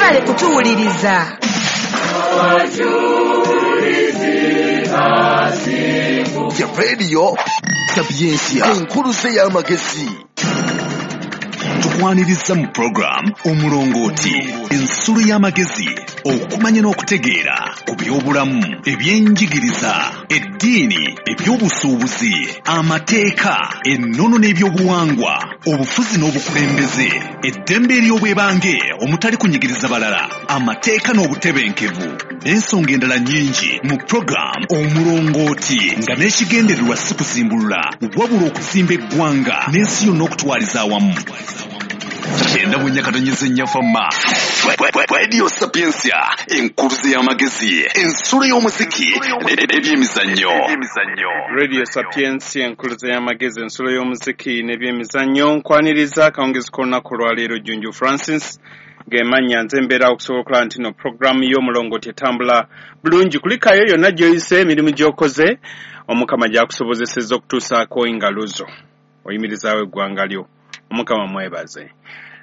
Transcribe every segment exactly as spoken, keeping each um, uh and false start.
Mwebale kutuwuliriza. Ya Radio Sapientia, enkuluze y'amagezi. Tukwaniriza mu program Omulongooti, ensulo y'amagezi, okumanya n'okutegeera ku by'obulamu, ebyenjigiriza, eddiini, ebyobusuubuzi, amateeka, ennono n'ebyobuwangwa, obufuzi n'obukulembeze, eddembe ery'obwebange omutali kunyigiriza balala, amateeka n'obutebenkevu, n'ensonga endala nnyingi mu program Omulongooti, nga n'ekigendererwa si kuzimbulula wabula okuzimba eggwanga n'ensi yonna okutwaliza awamu. Kyenda mu nyakatonyeze nnyafamma. Radio Sapientia, enkuluze y'amagezi, ensulo y'omuziki n'ebyemizannyo. Radio Sapientia, enkuluze y'amagezi, ensulo y'omuziki n'ebyemizannyo. Nkwaniriza akawungezi k'olunaku olwaleero. Junju Francis gemanya nze mbeera okusobola okulaba nti no programu y'Omulongooti etambula bulungi. Kulikayo yonna gy'oyise, emirimu gy'okoze, Omukama gy'akusobozesezza okutuusaako engalo zo, oyimirizaawo eggwanga lyo. Omukama mwebaze.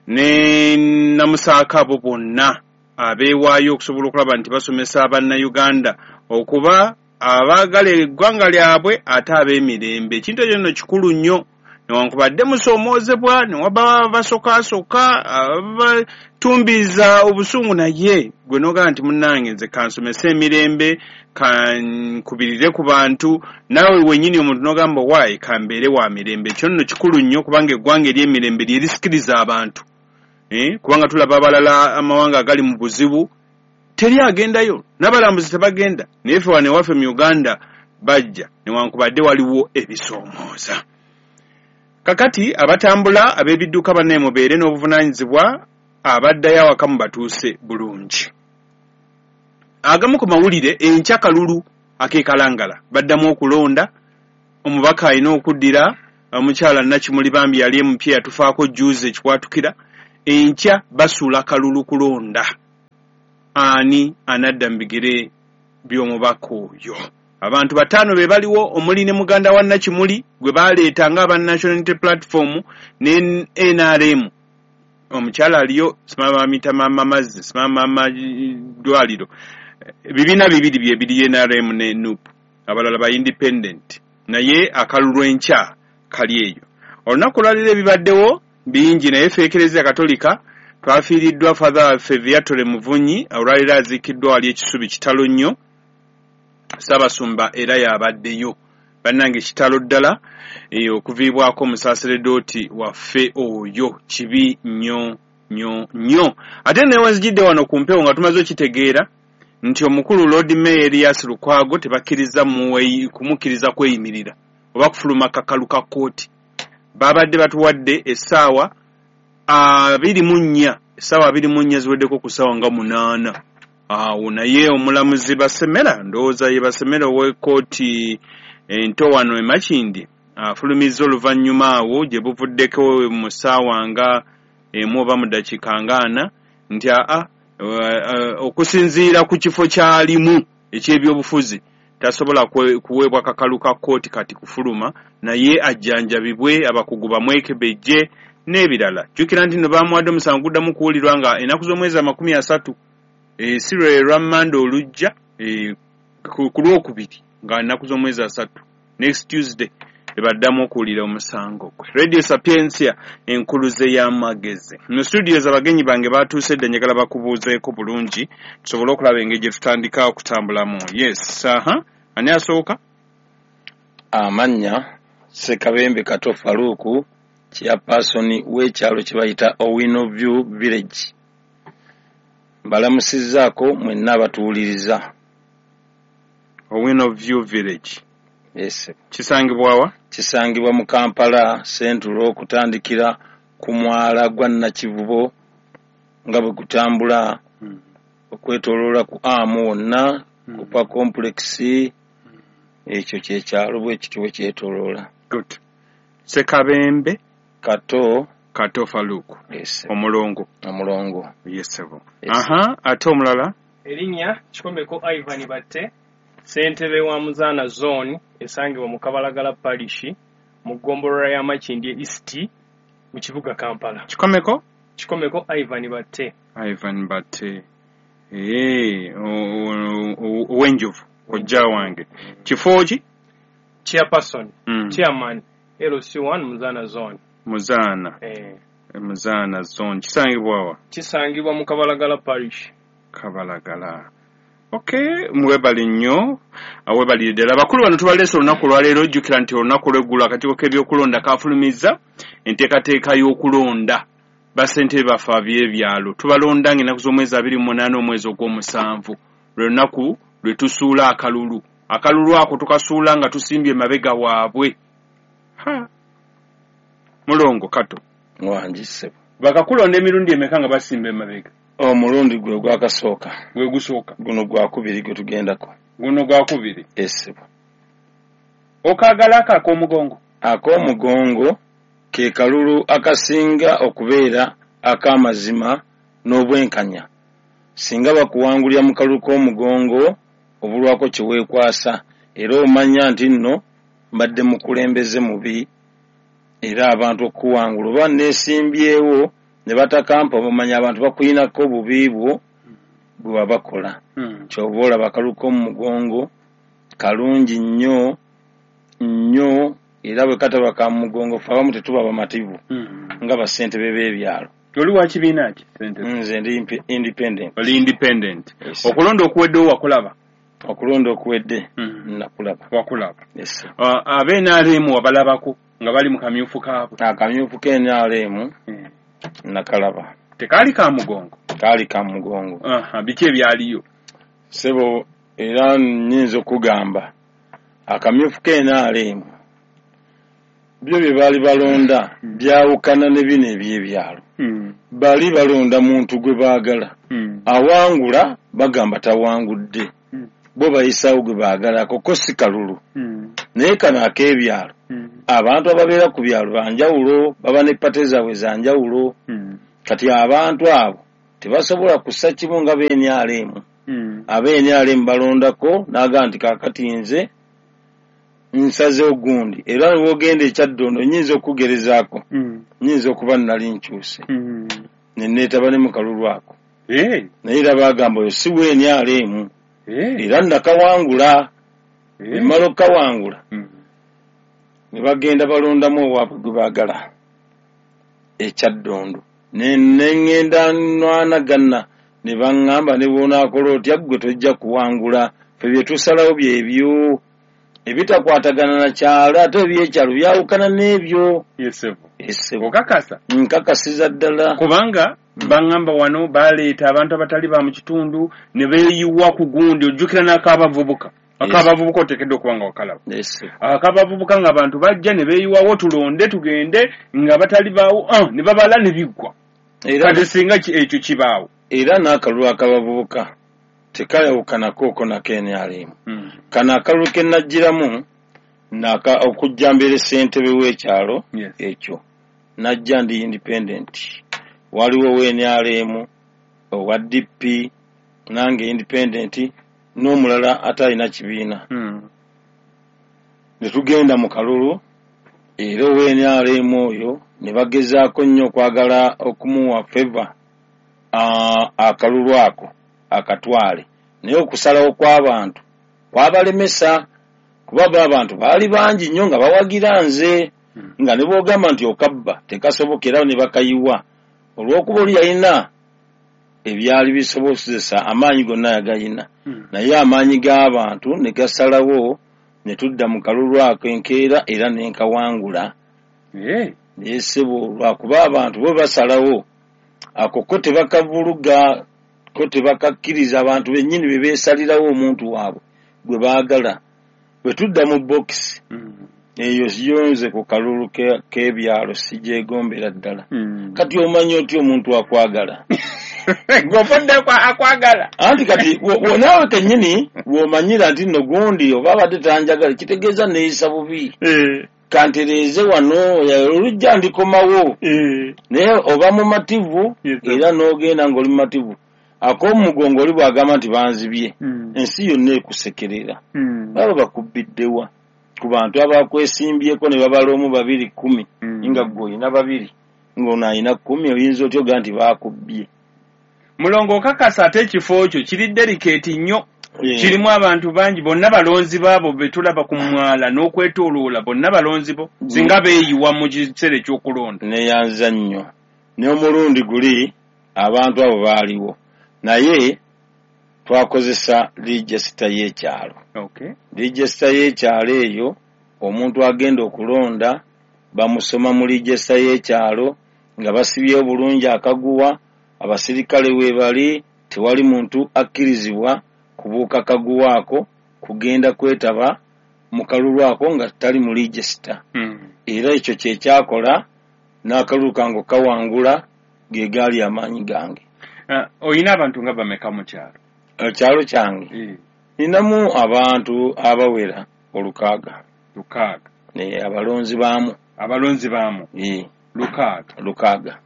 Ne namusaako abo bonna abeewaayo okusobola okulaba nti basomesa Abannayuganda okuba abaagala eggwanga lyabwe ate ab'emirembe. Ekintu ekyo nno kikulu nnyo, newankubadde musoomoozebwa, newaba basokaasooka abatumbiiza obusungu, naye gwe n'ogamba nti munnange nze kansomese emirembe, kankubirire ku bantu, naawe wennyini omuntu n'ogamba waayi kambeere wa mirembe. Ekyo nno kikulu nnyo, kubanga eggwanga ery'emirembe lye lisikiriza abantu, eh, kubanga tulaba abalala amawanga agali mu buzibu teri agendayo, n'abalambuzi tebagenda, naye ffe wano ewaffe mu Uganda bajja, newankubadde waliwo ebisoomooza. Kakati abatambula ab'ebidduka banne mubeere n'obuvunaanyizibwa, abaddayo awaka mubatuuse bulungi. Agamu ku mawulire, enkya kalulu ak'ekalangala baddamu okulonda omubaka alina okuddira omukyala Nakimuli bambi yali emupya yatufaako jjuuzi ekikwatukira. Enkya basuula kalulu kulonda ani anadda mu bigere by'omubaka oyo. Abantu bataano be baliwo, omuli ne muganda wa Nakimuli gwe baleeta ng'aba National Unity Platform ne N R M. Omukyala aliyo simama bamuyita Maama Mazzi, simama Maama Ddwaliro. Ebibiina bibiri bye biri, N R M ne N U P, abalala ba independent, naye akalulu enkya kali eyo. Olunaku olwaleero ebibaddewo bingi, naye ffe Eklezia Katolika twafiiriddwa Father waffe Viatore Muvunyi, olwaleero aziikiddwa wali ekisubi kitalo nnyo. Ssaabasumba era yabaddeyo. Bannange kitalo ddala okuviibwako omusaaseredooti waffe oyo, kibi nnyo nnyo nnyo. Ate newenzijidde wano ku mpewo nga tumaze okitegeera nti omukulu Lord Mayor Erias Lukwago tebakkiriza kumukkiriza kweyimirira oba kufuluma kakalu ka kkooti. Babadde batuwadde essaawa abiri mu nnya, essaawa abiri mu nnya ziweddeko ku ssaawa nga munaana awo, naye omulamuzi Basemera, ndowooza ye Basemera ow'ekkooti ento wano e Makindye, afulumizza oluvannyuma awo gye buvuddeko mu ssaawa nga emu oba mu ddakiika nga ana nti aa okusinziira ku kifo ky'alimu eky'ebyobufuzi tasobola kuweebwa kakalu ka kkooti kati kufuluma, naye ajjanjabibwe abakugu bamwekebejje n'ebirala. Jjukira nti nno baamuwadde omusango guddamu kuwulirwa nga ennaku z'omwezi amakumi asatu, si lwe lwa Mmande olujja, ku Lwokubiri nga ennaku z'omwezi asatu, next Tuesday, ebaddamu okuwulira omusango gwe. Radio Sapientia, enkuluze y'amagezi. Mu studios abagenyi bange batuuse dda, njagala bakubuuzeeko bulungi tusobole okulaba engeri gye tutandika okutambulamu. Yes, aha, ani asooka? Amannya Ssekabembe Kato Faruku, chairperson w'ekyalo kye bayita Owino View Village. Mbalamusizzaako mwenna abatuwuliriza. Owino View Village. Yes. Kisangibwa wa? Kisangibwa mu Kampala Central, okutandikira ku mwala gwa Nakivubo nga bwe gutambula hmm. okwetooloola ku Amu wonna, hmm. Kupa complex, ekyo kyekyalo bwe kityo bwe kyetooloola. Good. Ssekabembe Kato Kato Faruku. Yes. Omulongo. Omulongo. Yes, sir. Yes. Aha, ate omulala? Erinnya Kikomeko Ivan Batte, ssentebe wa Muzaana Zone esangibwa mu Kabalagala Parish mu ggombolola ya Makindye East mu kibuga Kampala. Kikomeko? Kikomeko Ivan Batte. Ivan Batte, eh, owenjovu kojja wange. Kifo ki? Chairperson. Mm. Chairman L C one Muzaana Zone. Muzaana. Eh. Muzaana Zone kisangibwa wa? Kisangibwa mu Kabalagala Parish. Kabalagala. Okay, mwebale nnyo, awebalire ddala. Abakulu bano tubaleese olunaku olwaleero. Ojjukira nti olunaku olw'eggulo akakiiko k'ebyokulonda kafulumizza enteekateeka y'okulonda bassentebe baffe ab'ebyalo. Tubalonda ng'ennaku z'omwezi abiri mu munaana omwezi ogw'omusanvu, lwe lunaku lwe tusuula akalulu. Akalulu ako tukasuula nga tusimbye emabega waabwe. Ha, mulongo Kato. Wangi ssebo. Bakakulonda emirundi emeka nga basimba emabega? Omulundi gwe gwakasooka. Gwe gusooka. Guno gwakubiri gwe tugendako. Guno gwakubiri. Ssebo. Okaagala ako ak'omugongo? Ak'omugongo ke kalulu akasinga okubeera ak'amazima n'obwenkanya. Singa bakuwangulira mu kalulu k'omugongo obulwako kye weekwasa, era omanya nti nno mbadde mukulembeze mubi, era abantu okuwangula oba neesimbyewo ne batakampa, bamanya abantu bakuyinako obubi bwo bwe wabakola. Mm. Ky'oba olaba akalulu k'omugongo kalungi nnyo nnyo, era bwe kataba ka mugongo ffe abamu tetuba bamativu Mm. nga bassentebe b'ebyalo. Oli wa kibiina ki ssentebe? Nze ndi independent. Oli independent. Yes. Okulonda okuweddewo wakulaba? Okulonda okuwedde Mm. nakulaba. Wakulaba. Yes. Uh, abe N R M wabalabako nga bali mu kamyufu kaabwe? Akamyufu ka N R M mm. nakalaba. Tekaali ka mugongo? Kaali ka mugongo. Aha, biki ebyaliyo? Ssebo, era nnyinza okugamba akamyufu ka N R M byo bye baali balonda byawukana ne bino eby'ebyalo. Mm. Bali balonda muntu gwe baagala. Mm. Awangula bagamba tawangudde. Mm. Bo bayisaawo gwe baagala, ako ko si kalulu. Mm. Naye kano ak'ebyalo, Mm. abantu ababeera ku byalo banjawulo, baba ne pate zaabwe za njawulo. Mm. Kati abantu abo tebasobola kussa kimu nga be N R M. Mm. Abe N R M balondako n'agamba nti kaakati nze nsazeewo gundi, era w'ogenda ekyaddondo nnyinza okugerezaako, Mm. nnyinza okuba nali nkyuse. Mm. Ne neetaba ne mu kalulu ako. Eh. Naye era baagamba oyo si we N R M. Eh. Era nakawangula. Eh. Mmala okukawangula. Mm. Ne bagenda balondamu owaabwe gwe baagala ekyaddondo. Ne ŋŋenda nwanagana ne baŋŋamba ne bw'onaakola otya ggwe tojja kuwangula, ffe bye tusalawo byebyo ebitakwatagana na kyalo, ate ebyekyalo byawukana n'ebyo. Yesebo. Yesebo. Okakasa? Nkakasiza ddala. Kubanga baŋŋamba wano baleeta abantu abatali ba mu kitundu ne beeyiwa ku gundi, ojjukira n'ak'abavubuka. Ak'abavubuka oteekeddwa okuba nga wakalaba. Ak'abavubuka ng'abantu bajja ne beeyiwawo tulonde tugende nga batali baawo, ah, ne babala ne biggwa. Kati singa ekyo kibaawo. Era n'akalulu ak'abavubuka tekayawukanako okwo nako N R M. Mm. Kano akalulu ke najjiramu okujja mbeere ssentebe w'ekyalo Yes. ekyo najja ndi independent. Waliwo owa N R M, owa D P, nange independent, n'omulala atalina kibiina. Mm. Ne tugenda mu kalulu, era owa N R M oyo ne bagezaako nnyo okwagala okumuwa favor akalulu ako akatwale, naye okusalawo kw'abantu kwabalemesa, kuba bo abantu baali bangi nnyo nga bawagira nze, nga ne bw'ogamba nti okabba tekasoboka, era ne bakayiwa olw'okuba oli yalina ebyali bisobozesa amaanyi gonna yagayina, naye amaanyi g'abantu ne gasalawo ne tudda mu kalulu ako enkeera era ne nkawangula. Naye ssebo lwakuba abantu bo basalawo ako ko tebakavuluga, ko tebakakkiriza, abantu bennyini be beesalirawo omuntu waabwe gwe baagala. Bwe tudda mu bokisi eyo yonze ku kalulu k'ebyalo sigyegombera ddala. Kati omanyi otya omuntu akwagala? Gw'ofudde akwagala. Anti kati naawe kennyini bw'omanyira nti nno gundi oba abadde tanjagala, kitegeeza neeyisa bubi. Kantereeze wano olujja ndikomawo. Naye oba mumativu era n'ogenda ng'oli mumativu. Ak'omugongo oli bw'agamba nti banzibye, ensi yonna ekusekerera. Baba bakubbiddewa ku bantu abakwesimbyeko ne babala omu babiri kkumi, nga ggwe olina babiri ng'ono alina kkumi, oyinza otya ogamba nti baakubbye? Mulongo, okakasa ate ekifo kyo kiri delicate nnyo, kirimu abantu bangi, bonna balonzi baabo be tulaba ku mwala n'okwetooloola, bonna balonzi bo singa beeyiwa mu kiseera ekyokulonda. Neyanza nnyo. N'omulundi guli abantu abo baaliwo, naye twakozesa register y'ekyalo. Okay. Register y'ekyalo eyo omuntu agenda okulonda bamusoma mu register y'ekyalo nga basibye obulungi akaguwa, abasirikale we bali, tewali muntu akkirizibwa kubuuka kaguwa ako kugenda kwetaba mu kalulu ako nga tali mu register. Mm. Era ekyo kye kyakola n'akalulu kange kawangula, ge gaali amaanyi gange. Uh, oyina abantu nga bameka mu kyalo? Ekyalo kyange Eh, ninamu abantu abawera olukaaga. Lukaaga. Ne abalonzi baamu. Abalonzi baamu Eh, lukaaga. Lukaaga.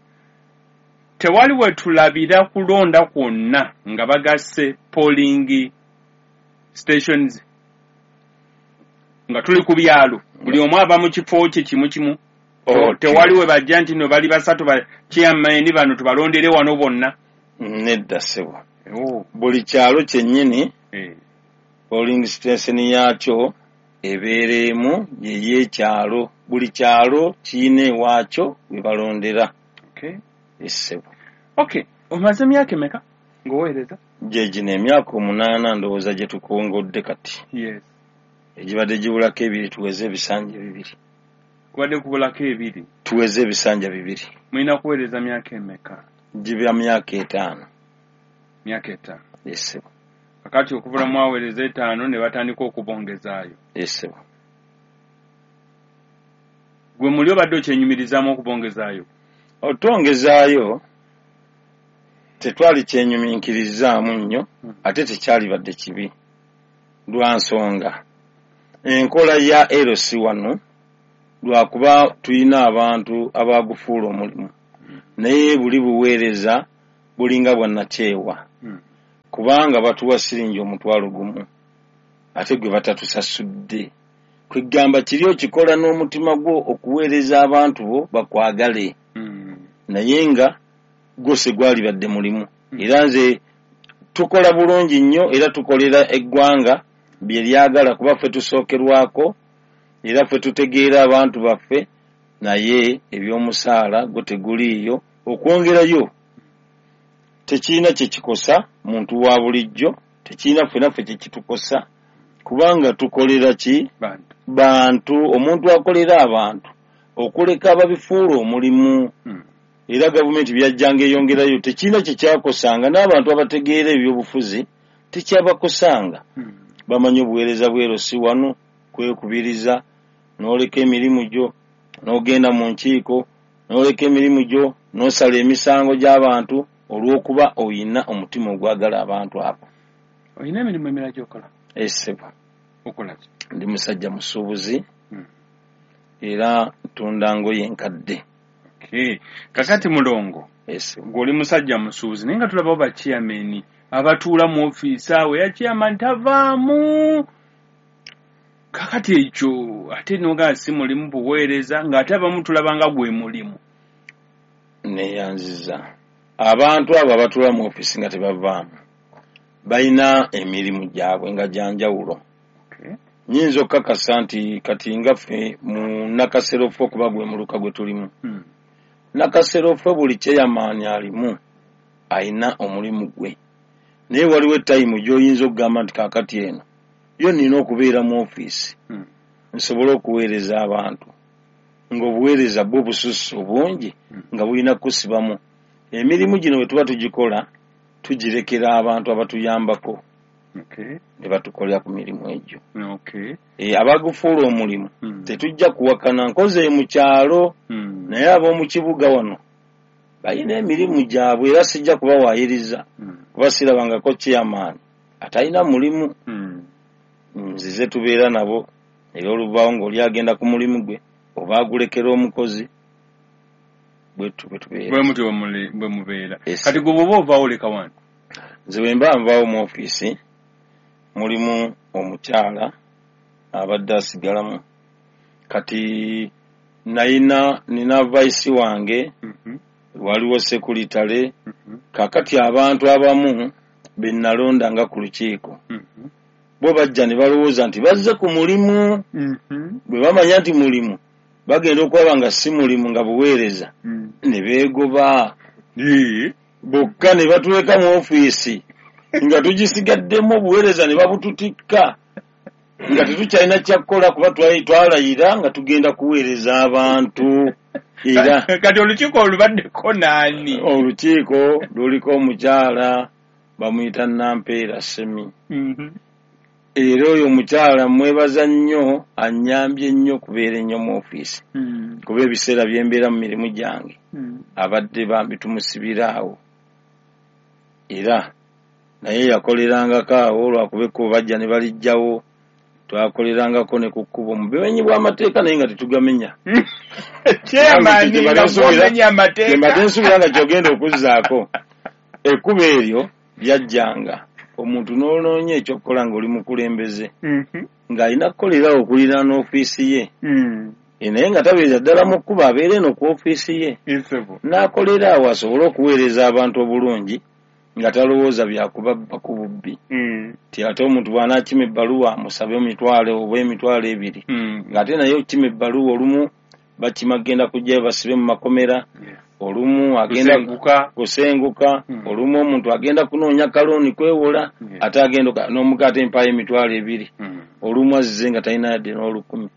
Tewali we tulabira kulonda kwonna nga bagasse polling stations nga tuli ku byalo, buli omu ava mu kifo kye kimu kimu. Oh, tewali we bajja nti no bali basatu ba chairman bano tubalondere wano bonna. Nedda ssebo. Oh. Buli kyalo kyennyini Eh. polling station yaakyo ebeera emu yeyekyalo. Buli kyalo kirina ewaakyo we balondera. Okay. Essebo. Okay, omaze emyaka emeka ng'oweereza? Gye gino emyaka omunaana ndowooza gye tukongodde kati. Yes. Egibadde gibulako ebiri tuweze ebisanja bibiri. Kubadde kubulako ebiri. Tuweze ebisanja bibiri. Mulina kuweereza myaka emeka? Giba myaka etaano. Myaka etaano. Essebo. Kakati okubula mwaweereza etaano ne batandika okubongezaayo. Essebo. Gwe muli obadde okyenyumirizaamu okubongezaayo? Otwongezaayo tetwali kyenyuminkirizaamu nnyo, ate tekyalibadde kibi lwa nsonga enkola ya L C wano, lwakuba tulina abantu abagufuula omulimu, naye buli buweereza bulinga bwa nnakyewa, kubanga batuwa siringi omutwalo gumu ate gwe batatusasudde. Kwegamba kiri okikola n'omutima gwo okuweereza abantu bo bakwagale, naye nga gwose gwalibadde mulimu. Era nze tukola bulungi nnyo, era tukolera eggwanga bye lyagala, kuba ffe tusookerwako era ffe tutegeera abantu baffe, naye ebyomusaala gwo teguliiyo. Okwongerayo tekirina kye kikosa muntu wa bulijjo, tekirina ffe naffe kye kitukosa, kubanga tukolera ki? Bantu. Bantu. Omuntu akolera abantu okuleka ababifuula omulimu. Mm. Era gavumenti byajjanga eyongerayo tekirina kye kyakosanga, n'abantu abategeera ebyobufuzi tekyabakosanga. Mm. Bamanyi obuweereza bwero si wano kwekubiriza, n'oleka emirimu gyo n'ogenda mu nkiiko, n'oleka emirimu gyo n'osala emisango gy'abantu olw'okuba oyina omutima ogwagala abantu abo. Oyina emirimu emirala gy'okola? Essebo. Okola ki? Ndi musajja musuubuzi. Mm. Era ntunda ngoye enkadde. Okay. Kakati Mulongo, Essebo. gw'oli musajja musuubuzi, naye nga tulabawo ba chairman abatuula mu ofiisi awo, ya chairman tavaamu. Kakati ekyo ate n'ogamba si mulimu buweereza, ng'ate abamu tulaba nga gwe mulimu. Neeyanziza. Abantu abo abatuula mu ofiisi nga tebavaamu balina emirimu gyabwe nga gya njawulo. Okay. Nnyinza okukakasa nti kati nga ffe mu Nakasero okuba gwe muluka gwe tulimu. Mm. Nakasero buli chairman alimu ayina omulimu gwe, naye waliwo etayimu gy'oyinza okugamba nti kaakati eno yo nnina okubeera mu ofiisi Mm. nsobole okuweereza abantu, ng'obuweereza bwo bususse obungi nga bulina kusibamu. Emirimu gino bwe tuba tugikola tugirekera abantu abatuyambako Okay. ne batukolera ku mirimu egyo. Okay. E, abagufuula omulimu Mm. tetujja kuwakana, nkoze mu kyalo Mm. naye ab'omu kibuga wano balina emirimu gyabwe, era sijja kubawaayiriza Mm. kuba sirabangako chairman atalina mulimu. Mm. Nzize tubeera nabo, era oluvaawo ng'oli agenda ku mulimu gwe oba agulekera omukozi, bwetu bwe tubeera. Bwe mutyo bwe mubeera. Yes. Kati gwe bw'oba ovaawo oleka wano? Nze bwe mba nvaawo mu ofiisi mulimu omukyala abadde asigalamu. Kati nayina nina vice wange mm -hmm. Waliwo sekuritale. Kakati abantu abamu be nalonda nga ku lukiiko bo bajja ne balowooza nti bazze ku mulimu. Bwe bamanya nti mulimu, bagenda okulaba nga si mulimu, nga buweereza, ne beegoba bokka ne batuleka mu ofiisi nga tugisigaddemu obuweereza ne babututikka nga tetukyalina kyakukola, kuba twalayira nga tugenda kuweereza abantu. Era kati olukiiko olubaddeko naani? Olukiiko luliko omukyala bamuyita Nampeera Semi. Era oyo omukyala mwebaza nnyo, annyambye nnyo okubeera ennyo mu ofiisi, kuba ebiseera bye mbeera mu mirimu gyange abadde bambi tumusibira awo. Era naye yakolerangako awo, lwakuba ekkubo bajja ne balijjawo, twakolerangako ne ku kkubo mu bumenyi bw'amateeka naye nga tetugamenya. Mbadde nsuubira nga ky'ogenda okuzzaako. Ekkubo eryo lyajjanga omuntu n'onoonya ekyokukola ng'oli mukulembeze, ng'alina kukolerawo okuliraana ofiisi ye, naye nga tabeera ddala mu kkubo, abeera eno ku ofiisi ye n'akolera awo asobole okuweereza abantu obulungi nga talowooza byakubabba ku bubbi. Ti ate omuntu bw'anaakima ebbaluwa amusabe emitwalo oba emitwalo ebiri, ng'ate naye okukima ebbaluwa olumu bakima genda kujjayo basibe mu makomera, olumu agenda kusenguka, olumu omuntu agenda kunoonya kalooni kwewola, ate agenda n'omuka ate mpaayo emitwalo ebiri, olumu azze nga talina yadde n'olukumi.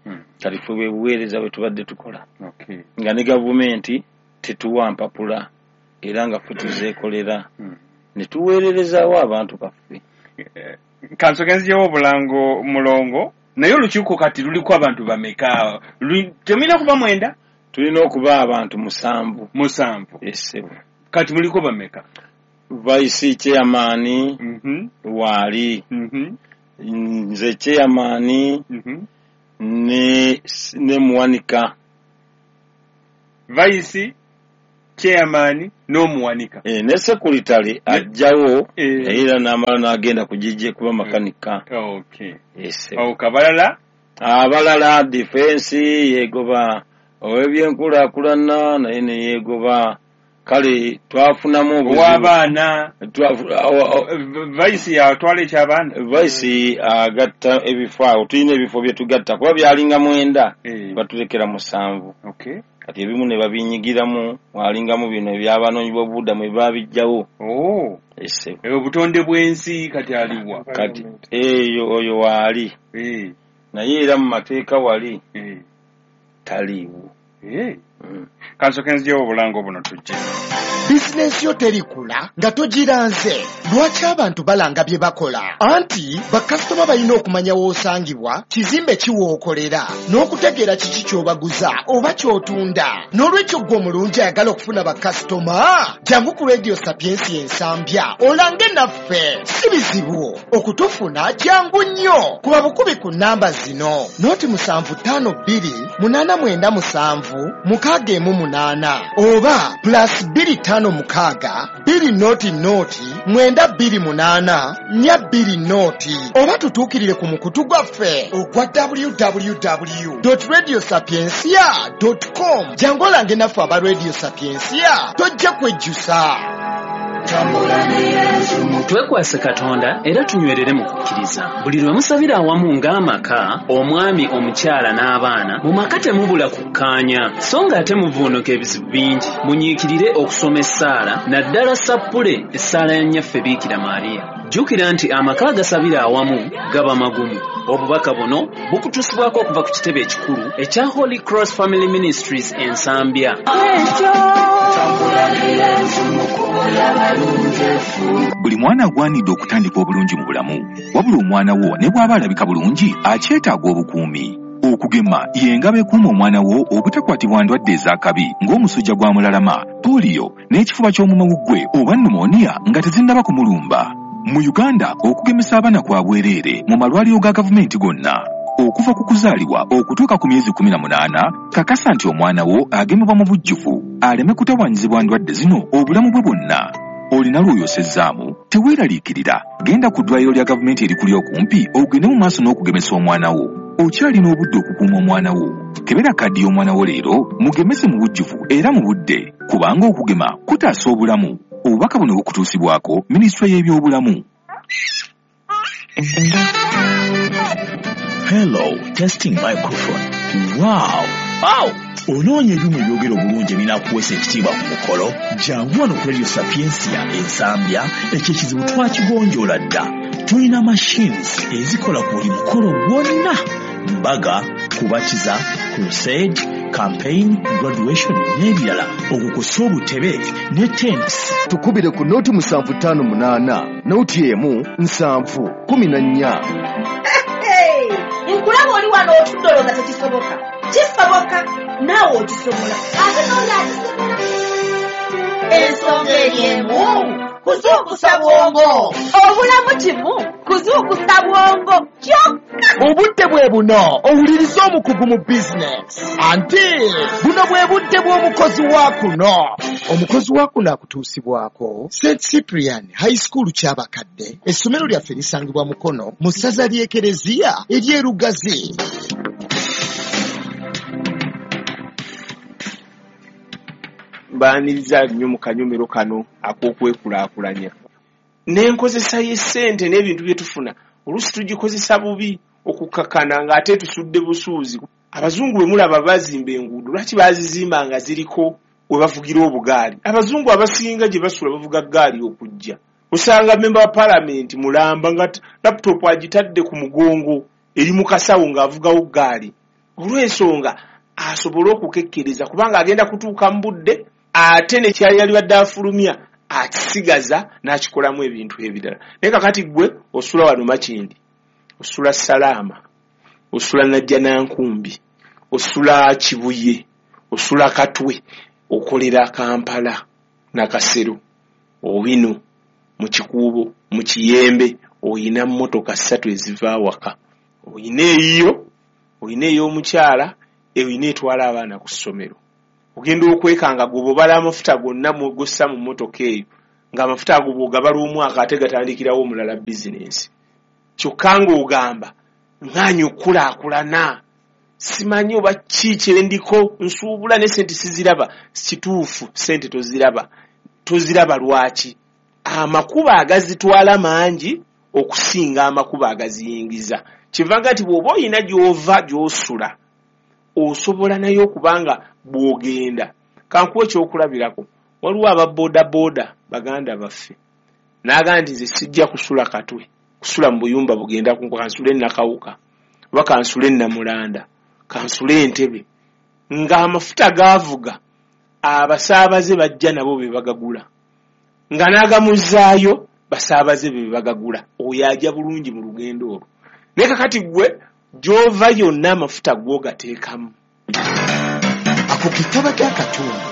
Kati ffe bwe buweereza bwe tubadde tukola, nga ne gavumenti tetuwa mpapula, era nga ffe tuzeekolera ne tuweererezaawo abantu baffe. Kansooke nzijewo obulango mulongo, naye olukiiko kati luliko abantu bameka? Temulina kuba mwenda? Tulina okuba abantu musanvu. Musanvu. Essebo. Kati muliko bameka? Vice chairman waali, nze chairman ne ne muwanika. Vice chairman n'omuwanika. Eh, ne sekuritale ajjawo era n'amala n'agenda kugijje kuba makanika. Okay. Essebo. Awo kabalala? Abalala defense yeegoba, ow'ebyenkulaakulana naye ne yeegoba. Kale twafunamu obuzibu. Ow'abaana. Vice yatwala eky'abaana? Vice agatta ebifo awo, tulina ebifo bye tugatta kuba byalinga mwenda, batulekera musanvu. Okay. Kati ebimu ne babinyigiramu, mwalingamu bino eby'abanoonyi b'obubudamu ebaabijjawo. Oh. Essebo. Obutonde bw'ensi kati aliwa? Kati eyo oyo waali. Naye era mu mateeka wali taliiwo. Kansooke nzijewo obulango buno tujje. Bizinensi yo terikula nga togiranze. Lwaki abantu balanga bye bakola? Anti bakasitoma balina okumanya w'osangibwa, kizimbe ki w'okolera, n'okutegeera kiki ky'obaguza oba ky'otunda. N'olwekyo ggwe omulungi ayagala okufuna bakasitoma, jangu ku Radio Sapiensia Ensambya olange naffe. Si bizibu okutufuna, jangu nnyo. Kuba bukubi ku nnamba zino: noti musanvu ttaano bbiri munaana mwenda musanvu mukaaga emu munaana oba plus bbiri ttaano mukaaga bbiri noti noti mwenda bbiri munaana nnya bbiri noti, oba tutuukirire ku mukutu gwaffe ogwa w w w dot radio sapiensia dot com. Jangu olange naffe aba Radio Sapiensia, tojja kwejjusa. Twekwase Katonda era tunywerere mu kukkiriza. Buli lwe musabira awamu ng'amaka, omwami, omukyala n'abaana, mu maka temubula kukkaanya, so ng'ate muvuunuka ebizibu bingi. Munyiikirire okusoma essaala, naddala sappule essaala ya Nnyaffe Biikira Maria. Jjukira nti amaka agasabira awamu gaba magumu. Obubaka buno bukutuusibwako okuva ku kitebe ekikulu ekya Holy Cross Family Ministries Ensambya. Buli mwana agwanidde okutandika obulungi mu bulamu, wabula omwana wo ne bw'aba alabika bulungi akyetaaga obukuumi. Okugema y'engabo ekuuma omwana wo obutakwatibwa ndwadde ez'akabi ng'omusujja gwa mulalama, pooliyo n'ekifuba ky'omumawuggwe oba pneumonia nga tezinnaba kumulumba. Mu Uganda okugemesa abaana kwa bwereere mu malwaliro ga gavumenti gonna. Okuva ku kuzaalibwa okutuuka ku myezi kkumi na munaana, kakasa nti omwana wo agemebwa mu bujjuvu aleme kutawaanyizibwa ndwadde zino obulamu bwe bwonna. Olina lw'oyosezzaamu? Teweeraliikirira. Genda ku ddwaliro lya gavumenti erikuli okumpi ogende mu maaso n'okugemesa omwana wo. Okyalina obudde okukuuma omwana wo. Kebera kaddi y'omwana wo leero, mugemese mu bujjuvu era mu budde, kubanga okugema kutaasa obulamu. Obubaka buno bukutuusibwako Minisitule y'Ebyobulamu. Hello, testing microphone. Wow! Wow! Onoonya ebyuma ebyogera obulungi ebinaakuweesa ekitiibwa ku mukolo? Jangu wano ku Radio Sapientia Ensambya, ekyo ekizibu twakigonjoola dda. Tulina machines ezikola ku buli mukolo gwonna. Mbaga, kubatiza, crusade, campaign, graduation n'ebirala. Okukosa obutebe ne tents. Tukubire ku noti musanvu ttaano munaana, noti emu nsanvu kumi na nnya. Nkulaba oli wano otudde olowooza tekisoboka. Kisoboka, naawe okisobola. Ate n'oli akisobola. Ensonga eri emu, kuzuukusa bwongo. Obulamu kimu, kuzuukusa bwongo kyokka. Obudde bwe buno owuliriza omukugu mu bizinesi. Anti buno bwe budde bw'omukozi wa kuno. Omukozi wa kuno akutuusibwako Saint Cyprian High School Kyabakadde. Essomero lyaffe lisangibwa Mukono mu ssaza ly'Ekereziya ery'e Lugazi. Mbaaniriza nnyo mu kanyomero kano ak'okwekulaakulanya. N'enkozesa y'essente n'ebintu bye tufuna oluusi tugikozesa bubi okukakkana ng'ate tusudde busuuzi. Abazungu bwe mulaba bazimba enguudo, lwaki baazizimba nga ziriko we bavugira obugaali? Abazungu abasinga gye basula bavuga ggaali okujja. Osanga memba wa paalamenti mulamba nga laptop agitadde ku mugongo eri mu kasawo ng'avugawo ggaali. Olw'ensonga asobole okukekkereza kubanga agenda kutuuka mu budde ate ne kyali yalibadde afulumya akisigaza n'akikolamu ebintu ebirala. Naye kakati ggwe osula wano Makindi, osula Salaama, osula Najjanankumbi, osula Kibuye, osula Katwe, okolera Kampala, Nakasero, Owino, mu Kikuubo, mu Kiyembe, oyina mmotoka ssatu eziva awaka. Oyina eyiyo, oyina ey'omukyala, oyina etwala abaana ku ssomero. Ogenda okwekanga gwe bw'obala amafuta gonna gossa mu mmotoka eyo, ng'amafuta ago bw'ogabala omwaka ate gatandikirawo omulala bizinensi. Kyokka ng'ogamba ŋŋaanyi okukulaakulana, simanyi oba ki kye ndiko, nsuubula ne ssente siziraba. Kituufu ssente toziraba. Toziraba lwaki? Amakubo agazitwala mangi okusinga amakubo agaziyingiza. Kivanga nti bw'oba oyina gy'ova gy'osula, osobola naye okubanga bw'ogenda. Kankuwe ekyokulabirako, waliwo aba boodabooda baganda baffe n'agamba nti nze sijja kusula Katwe, kusula mu buyumba bugenda kunkuba, kansule Nakawuka oba kansule Namulanda, kansule Entebbe, ng'amafuta gaavuga abasaabaze bajja nabo be bagagula, nga n'agamuzaayo basaabaze be bagagula. Oyo ajja bulungi mu lugendo olwo. Naye kakati ggwe gy'ova yonna amafuta gw'ogateekamu. Ako ke kaba k'akatundu.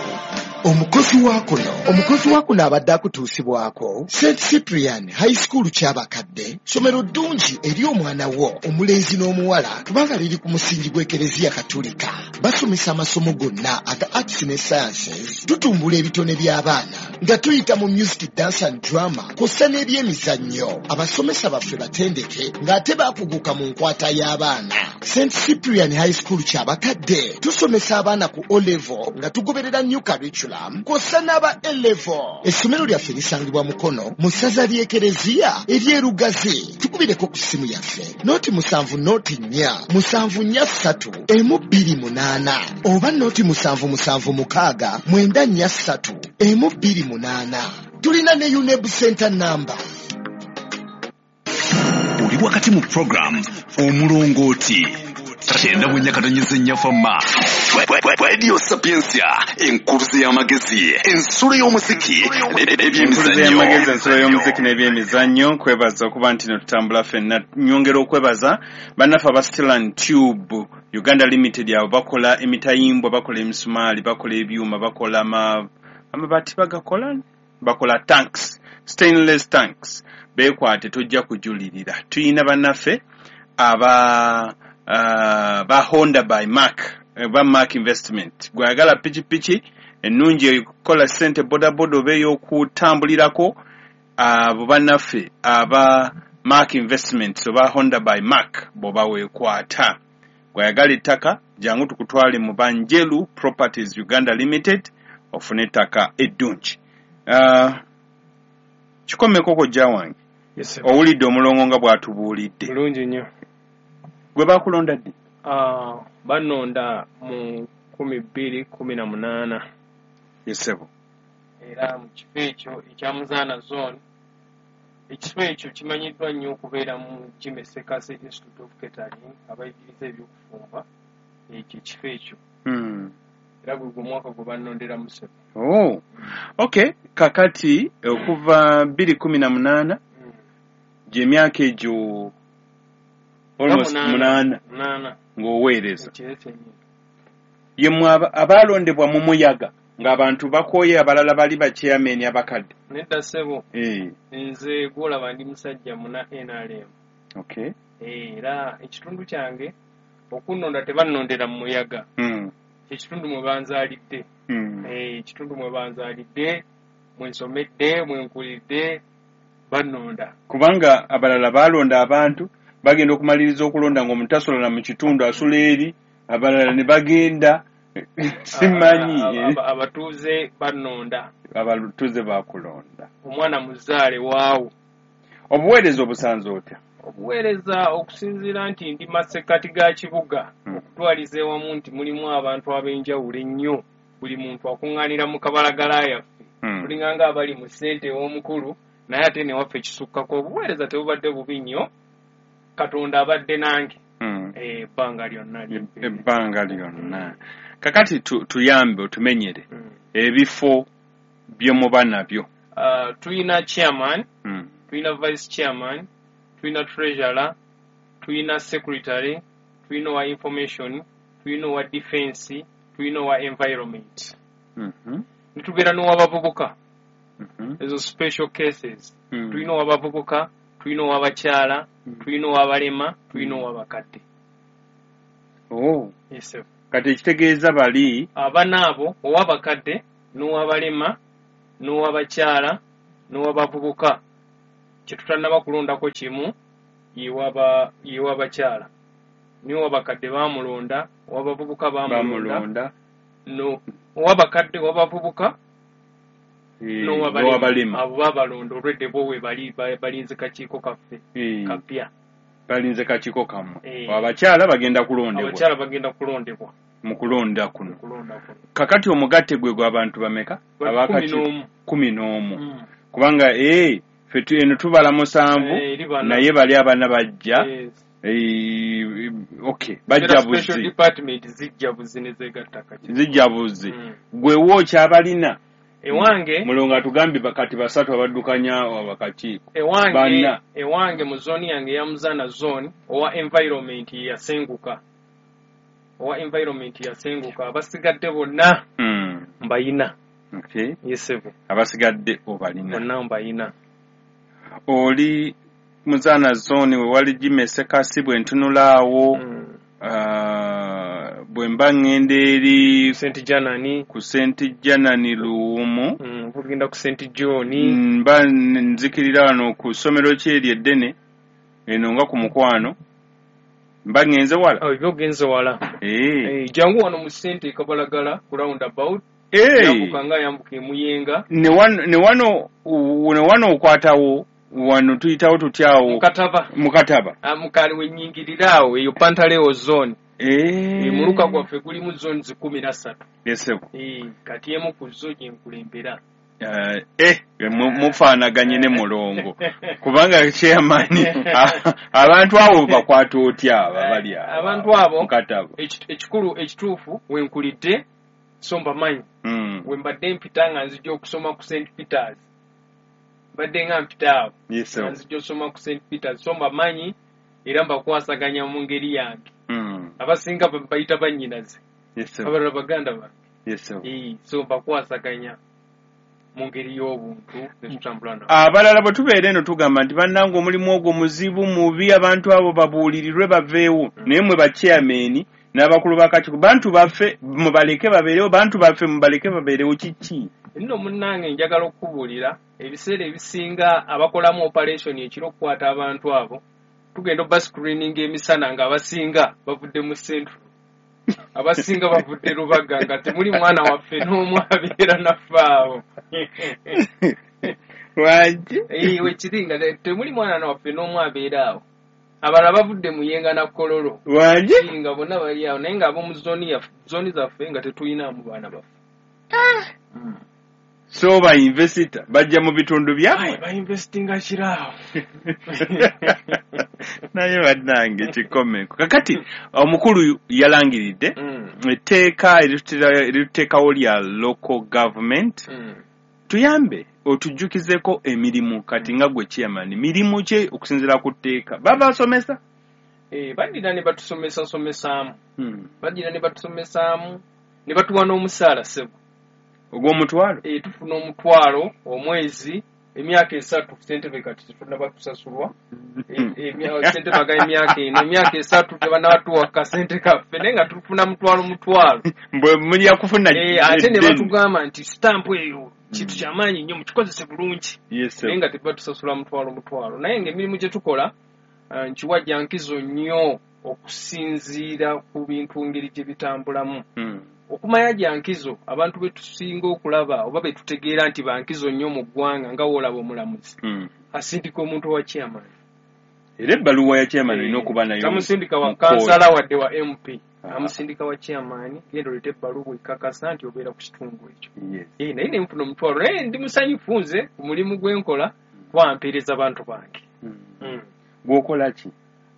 Omukozi wa kuno omukozi wa kuno abadde akutuusibwako Saint Cyprian High School Kyabakadde, ssomero ddungi eri omwana wo omulenzi n'omuwala kubanga liri ku musingi gw'Ekereziya Katolika. Basomesa amasomo gonna aga arts ne sciences, tutumbula ebitone by'abaana nga tuyita mu music, dance and drama kw'ossa n'ebyemizannyo. Abasomesa baffe batendeke ng'ate baakuguka mu nkwata y'abaana. Saint Cyprian High School Kyabakadde tusomesa abaana ku O level nga tugoberera new curriculum kw'ossa n'aba A level. Essomero lyaffe lisangibwa Mukono mu ssaza ly'Ekereziya ery'e Lugazi. Tukubireko ku ssimu yaffe noti musanvu noti nnya musanvu nnya ssatu emu bbiri munaana oba noti musanvu musanvu mukaaga mwenda nnya ssatu emu bbiri munaana. Tulina ne UNEB Center number. Oli wakati mu program Omulongooti kyenda mu nnya katonnyeze nnya fama Radio Sapientia, enkuluze y'amagezi, ensulo y'omuziki Enkuluze y'amagezi, ensulo y'omuziki n'ebyemizannyo. Nkwebaza okuba nti ne tutambula ffenna. Nyongera okwebaza bannaffe aba Steel and Tube Uganda Limited. Abo bakola emitayimbwa, bakola emisumaali, bakola ebyuma, bakola ama amabaati, bagakola, bakola tanks, stainless tanks. Beekwate, tojja kujulirira. Tuyina bannaffe aba uh, ba Honda by Mark, ba Mark Investment. Gwayagala pikipiki Ennungi ekola ssente bodaboda oba ey'okutambulirako, abo bannaffe aba Mark Investments oba Honda by Mark bw'oba weekwata. Bw'ayagala ettaka, jangu tukutwale mu Banjelu Properties Uganda Limited ofune ettaka eddungi. Uh, kikomeko kojja wange. Yes, sir. Owulidde omulongo nga bw'atubuulidde. Bulungi nnyo. Gwe baakulonda ddi? Ah, bannonda mu kumi bbiri kumi na munaana. Yes, ssebo. Era mu kifo ekyo ekya Muzaana Zone, ekifo ekyo kimanyiddwa nnyo okubeera mu Jimmy Ssekasi Institute of Catering, abayigiriza ebyokufumba, ekyo ekifo ekyo. Hmm. Era gwe gwe mwaka gwe bannonderamu, ssebo. Oh. Okay, kakati okuva bbiri kumi na munaana Mm. gy'emyaka egyo almost munaana munaana ng'oweereza. Ekiro kyennyini. Ye mmwe aba- abaalondebwa mu muyaga ng'abantu bakooye, abalala bali ba chairman abakadde. Nedda ssebo. Eh, Nze gw'olaba ndi musajja muna N R M. okay. Era ekitundu kyange okunnonda tebannondera mu muyaga. Mm. Ekitundu mwe banzaalidde. Mm. Eh, ekitundu mwe banzaalidde, mwe nsomedde, mwe nkulidde, bannonda. Kubanga abalala baalonda abantu bagenda okumaliriza okulonda ng'omuntu tasola mu kitundu, asula eri, abalala ne bagenda simanyi. Aba- aba- abatuuze bannonda. Abatuuze bakulonda. Omwana muzaale waawo. Obuweereza obusanze otya? Obuweereza okusinziira nti ndi masekkati ga kibuga, Mm. okutwaliza ewamu nti mulimu abantu ab'enjawulo ennyo, buli muntu akuŋŋaanira mu kabalagala yaffe. Mm. Tulinga nga abali mu ssente ew'omukulu, naye ate newaffe kisukkako. Obuweereza tebubadde bubi nnyo, Katonda abadde nange Mm. eh, ebbanga lyonna lyempeereza. Ebbanga lyonna. Kakati tu, tuyambe otumenyere Mm. ebifo bye muba nabyo. Ah, tulina chairman, Mm. tulina vice chairman, tulina treasurer, tulina secretary, tulina owa information, tulina owa defense, tulina owa environment, Mm -hmm. netubeera n'owabavubuka. Mm -hmm. Ezo special cases. Mm. Tulina owabavubuka, tulina owabakyala, Mm. tulina owabalema, tulina owabakadde. Oh. Yes, sir. Kati ekitegeeza bali Abana abo, owabakadde n'owabalema n'owabakyala n'owabavubuka, kyetutannaba kulondako kimu yewaba yewabakyala, niye owabakadde bamulonda, owabavubuka bamulonda. Bamulonda. No owabakadde, owabavubuka eh, n'owabalema, n'owabalema. Abo babalonda olwedde, bo we bali ba- balinze kakiiko kaffe Eh, kapya. Balinze kakiiko kammwe. Eh. Abakyala bagenda kulondebwa. Abakyala bagenda kulondebwa. Mu kulonda kuno. Kulonda kuno. Kakati omugatte gwe gw'abantu bameka? Gwa Abakakiiko? kumi n'omu. Kumi n'omu. Mm. Kubanga eh, ffe tu- eno tubala musanvu. Eh, eri bana. Naye bali abana bajja. Yes. Eh, okay, Era bajja special buzi. department zijja buzi ne zeegatta kakiiko. Zijja buzi. Mm. Gwe wookyabalina? Ewange Mulongo atugambye bakati basatu abaddukanya abakakiiko. Ewange Bana. Ewange mu zooni yange eya Muzaana Zone, owa environment ye yasenguka, owa environment yasenguka, abasigadde bonna Mm. mbayina. Okay. Yes ssebo. Abasigadde obalina. Bonna mbayina. Oli Muzaana Zone we wali Jimmy Ssekasi, bwe ntunula awo, Mm. ah, bwe mba ŋŋenda eri Saint Janani. Ku Saint Janani Luwumu. mm, ogenda ku Saint John. Mba nzikirira wano ku ssomero kyeri eddene eno nga ku mukwano, mba ŋŋenze wala. Oh, ebyo ogenze wala. Eh. Eh, jangu wano mu sente e Kabalagala ku roundabout. Eh. Yambuka nga yambuka emuyenga. Ne wano ne wano ne wano okwatawo wano tuyitawo tutyawo? Mukataba. Mukataba. Ah, mukali wenyingirira awo, eyo Pantaleo Zone. Eh. E, muluka gwaffe gulimu zones kumi na ssatu. Yes, ssebo. Eh, kati emu ku zo gye nkulembera. Eh, eh, mu- mufaanaganye ne mulongo, kubanga chairman, a- abantu abo bakwata otya abo abali awo? Abantu abo Mukataba. eki- ekikulu ekituufu wenkulidde, so mbamanyi. Mm. We mbadde mpita nga nzija okusoma ku Saint Peters, mbadde nga mpita awo Yes, nga sir. nzija okusoma ku Saint Peters, so mbamanyi era mbakwasaganya mu ngeri yange. Mm. Abasinga ba- bayita bannyinaze, Yes, sir. abalala baganda bange. Yes, sir. Eh, so mbakwasaganya mu ngeri y'obuntu ne tutambula nabo. Abalala bwe tubeera eno tugamba nti bannange omulimu ogwo muzibu, mubi, abantu abo babuulirirwe baveewo, naye mwe bachairman N'abakulu b'akakiiko, bantu baffe mubaleke babeerewo, bantu baffe mubaleke babeerewo, kiki? Nno munnange njagala okukubuulira, ebiseera ebisinga abakolamu operation ekiro okukwata abantu abo, tugenda obba screening emisana ng'abasinga bavudde mu Central, abasinga bavudde Lubaga, nga temuli mwana waffe n'omu abeera naffe awo. Lwaki? Eh, wekiri nga temuli mwana waffe n'omu abeera awo. Abalala bavudde Muyenga na Kololo. Lwaki? Nga bonna bali awo, naye ng'ab'omu zooni yaffe, zooni zaffe nga tetulinamu baana baffe. Ah. So ba investor bajja mu bitundu byabwe? Ba investinga kiraawo. Naye bannange kikomeko. Kakati omukulu yalangiridde etteeka erituteekawo lya local government. Mm. Tuyambe otujjukizeko emirimu kati nga gwe chairman, mirimu ki okusinziira ku tteeka? Babasomesa? Eh, baddira ne batusomesa somesaamu. Hmm. Baddira ne batusomesaamu ne batuwa n'omusaala ssebo. Ogw'omutwalo? Eh, tufuna omutwalo omwezi emyaka esatu ssentebe kati tetunnaba kusasulwa. Ssentebe aga emyaka eno, emyaka esatu tebannabatuwa kasente kaffe, naye nga tufuna mutwalo mutwalo. Mbwe mulya kufuna Eh, ate ne batugamba nti sitampu eyo kintu kyamaanyi nnyo, mukikozese bulungi. Yes, naye nga tebatusasula mutwalo mutwalo. Naye ng'emirimu gye tukola nkiwa gya nkizo nnyo okusinziira ku bintu ngeri gye bitambulamu. Mm. Okumanya gya nkizo abantu be tusinga okulaba oba be tutegeera nti ba nkizo nnyo mu ggwanga nga w'olaba omulamuzi Mm. asindika omuntu wa chairman. Era ebbaluwa ya chairman olina okuba nayo. Tamusindika wa mu kooti. kansala wadde wa M P. Ah. Amusindika wa chairman, genda oleete ebbaluwa ekakasa nti obeera ku kitundu ekyo. Yes. Eh, naye ne nfuna omutwalo, naye ndi musanyufu nze ku mulimu gwe nkola kuba mpeereza bantu bange. Mm. Mm. Gw'okola ki?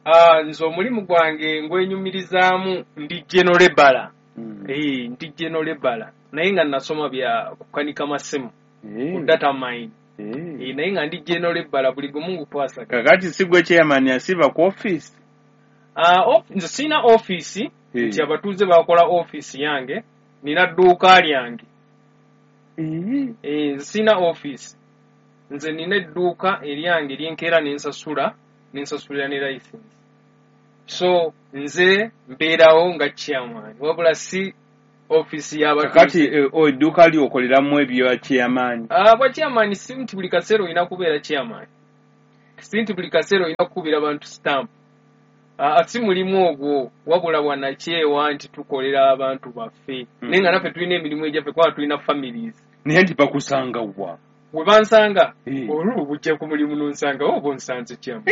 Ah, nze omulimu gwange ngwenyumirizaamu, ndi general labourer. Mm. Eh, ndi general labourer. Naye nga nasoma bya kukanika masimu, Eh. ku data mine. Eh. Eh, naye nga ndi general labourer buli gumu ngukwasaganya. Kakati si gwe chairman asiba ku office? Ah, of, nze sirina office, Eh. nti abatuuze bakola office yange, nina dduuka lyange. Eh. Eh, nze sirina office. Nze nina edduuka eryange lyenkeera ne nsasula, ne nsasulira ne license. So nze mbeerawo nga chairman, wabula si office y'abatuuze. Kakati eh, o edduuka lyokoleramu ebya chairman? Ah, bwa chairman si nti buli kaseera olina kubeera chairman. Si nti buli kaseera olina kukubira bantu stamp. Ah, si mulimu ogwo, wabula bwannakyewa nti tukolera abantu baffe. Mm. Naye nga naffe tulina emirimu egyaffe kubanga tulina families. Naye nti bakusanga wa? We bansanga, Eh. olwo bujja ku mulimu n'onsanga, oba onsanze chairman.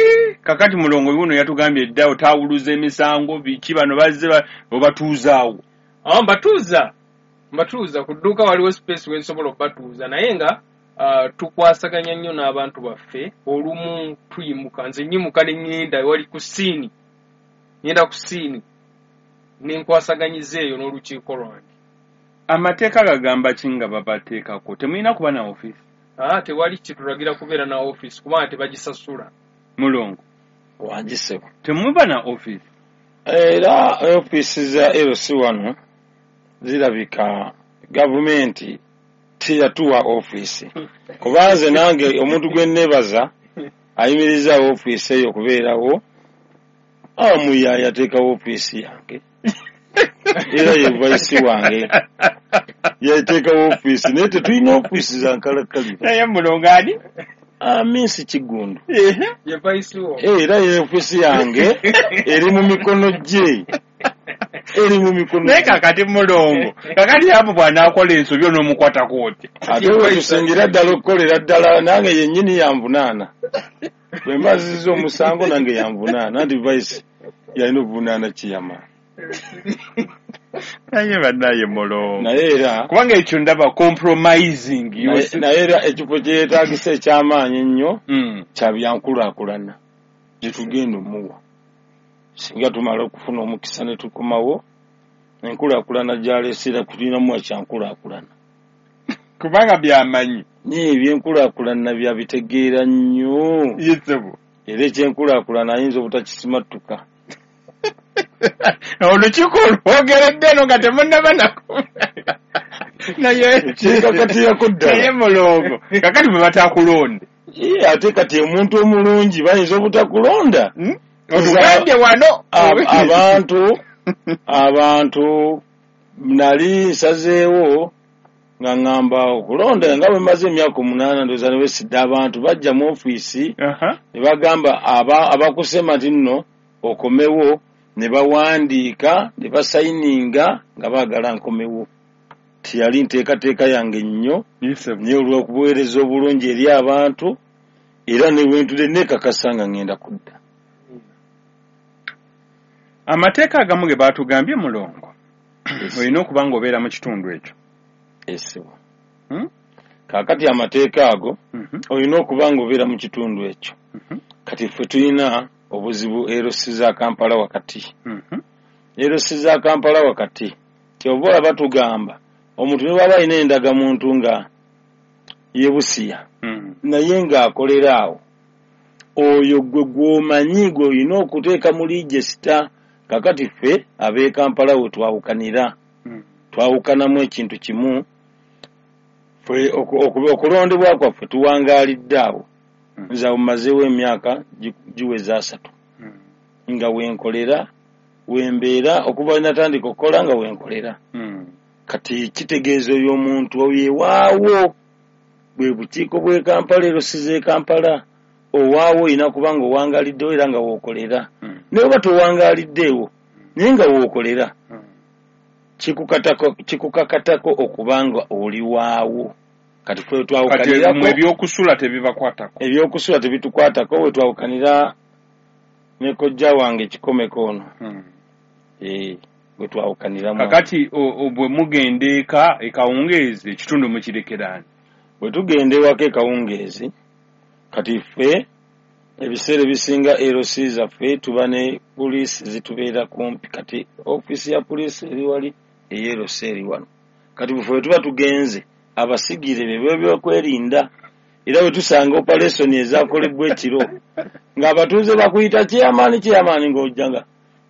Kakati mulongo wuno yatugambye dda otaawuluza emisango biki bano bazze obatuuzaawo. Ah, mbatuuza. Mbatuuza ku dduuka waliwo space we nsobola okubatuuza, naye nga uh, tukwasaganya nnyo n'abantu baffe. Olumu tuyimuka, nze nnyimuka ne ŋŋenda wali ku siini, ŋŋenda ku siini ne nkwasaganyiza eyo n'olukiiko lwange. Amateeka gagamba ki nga babateekako? Temulina kuba na office? Ah, tewali kitulagira kubeera na office kubanga tebagisasula. Mulongo. Wangi ssebo. Temuba na office? Era ofiisi za L C wano zirabika gavumenti teyatuwa ofiisi. Kuba nze nange omuntu gwe nneebaza ayimiriza ofiisi eyo okubeerawo, Amuyaaya yateekawo ofiisi yange. Era ye vice wange. Yateekawo ofiisi, naye tetulina ofiisi za nkalakkalira. Naye mulongo ani? Amisi Kiggundu. Ye vice wo. Era ye ofiisi yange eri mu mikono gye. Eri mu mikono Naye kakati mulongo, kakati apo bw'anaakola ensobi onoomukwatako otya? Ate we tusingira ddala okukolera ddala nange yennyini yanvunaana. Bwe mba nzizza omusango nange yanvunaana, anti vice yalina okuvunaana kiyama. Naye bannaye mulongo. Naye era kubanga ekyo ndaba compromising. Naye era ekifo kye yeetaagisa eky'amaanyi ennyo mm. kya byankulaakulana gye tugenda omuwa. Singa tumala okufuna omukisa ne tukomawo, enkulaakulana gy'aleese era tulinamu ekyankulaakulana. Kubanga byamanyi. Naye ebyenkulaakulana byabitegeera nnyo. Yesebo. Era ekyenkulaakulana ayinza obutakisimatuka. Olukiiko olwogeredde eno nga temunnaba nako. Naye Kyekakatirako ddala. Naye mulongo, kakati bwe batakulonde. Ye, ate kati omuntu omulungi bayinza obutakulonda. Otugambye wano. Abantu Abantu nali nsazeewo nga ŋŋamba okulonda nga bwe mmaze emyaka omunaana ndowooza ne weesidde abantu bajja mu ofiisi ne bagamba abakusema nti nno okomewo, ne bawandiika ne basayininga nga baagala nkomewo. Teyali nteekateeka yange nnyo, naye olw'okubuweereza obulungi eri abantu era ne bwe ntudde neekakasa nga ŋŋenda kudda. Amateeka agamu ge baatugambye Mulongo, olina okuba ng'obeera mu kitundu ekyo. Esebo. Hmm? Kaakati amateeka ago mhm. olina okuba ng'obeera mu kitundu ekyo. Mhm. Kati ffe tulina obuzibu L C za Kampala wakati. Mhm. L C za Kampala wakati kyova olaba tugamba omuntu ne bw'aba alina endagamuntu nga yebusiya naye ng'akolera awo, oyo gwe gw'omanyi gwe olina okuteeka mu register. Kakati ffe ab'e Kampala we twawukanira, twawukanamu ekintu kimu. Ffe okulondebwa kwaffe tuwangaalidde awo. Nze awo mmazeewo emyaka giweza asatu nga wenkolera, wembeera okuva we natandika okukola nga wenkolera. Kati kitegeeza oyo omuntu oyo ewaawo bwe bukiiko bw'e Kampala, L C z'e Kampala, owaawo olina kuba nga owangaaliddewo era nga wookolera. Naye oba towangaaliddeewo naye nga wookolera, kikukakatako okuba nga oli waawo. Kati ffe twawukanirako ebyokusula tebibakwatako. Ebyokusula tebitukwatako. We twawukanira ne kojja wange Kikomeko ono, eh, bwe twawukaniramu. Kakati bwe mugenda eka ekawungeezi, ekitundu mukirekeraani? Bwe tugenda ewaka ekawungeezi, kati ffe ebiseera ebisinga L C zaffe tuba ne poliisi zitubeera kumpi. Kati ofiisi ya poliisi eri wali, ey'e L C eri wano. Kati bufe bwe tuba tugenze, abasigire be byokwerinda, era bwe tusanga operation ezakolebwa ekiro ng'abatuuze bakuyita chairman, chairman, ng'ojja nga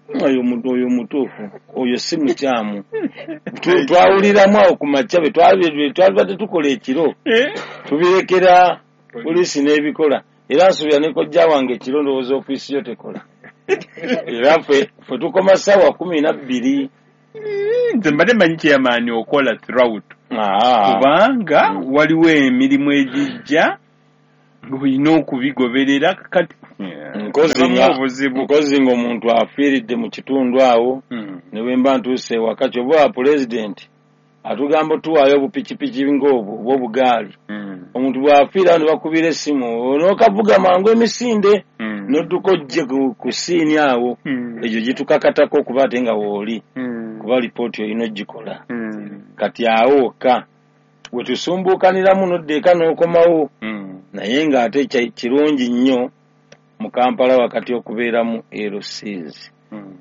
oyo oyo mutuufu, oyo si mukyamu. Twawuliramu awo ku makya bwe twalibadde tukola ekiro, tubirekera poliisi n'ebikola. Era nsuubira ne kojja wange ekiro ndowooza ofiisi yo tekola, era ffe ffe tukoma ssaawa kumi na bbiri. Nze mbadde mmanyi chairman okola throughout, kubanga waliwo emirimu egijja ng'olina okubigoberera. Kati nkozi ng'omuntu afiiridde mu kitundu awo, hmm. ne bwe mba ntuuse ewaka, kyova wa pulezidenti atugamba otuwaayo obupikipiki ng'obwo oba obugaali, hmm. omuntu bw'afiira ne bakubira essimu n'okavuga mangu emisinde hmm. n'odduka ojje ku scene awo. Egyo gitukakatako okuba ate nga wooli, kuba lipooti olina ogikola. Kati awo wokka we tusumbuukaniramu n'odda eka n'okomawo, naye ng'ate kirungi nnyo mu Kampala wakati okubeeramu L Cs,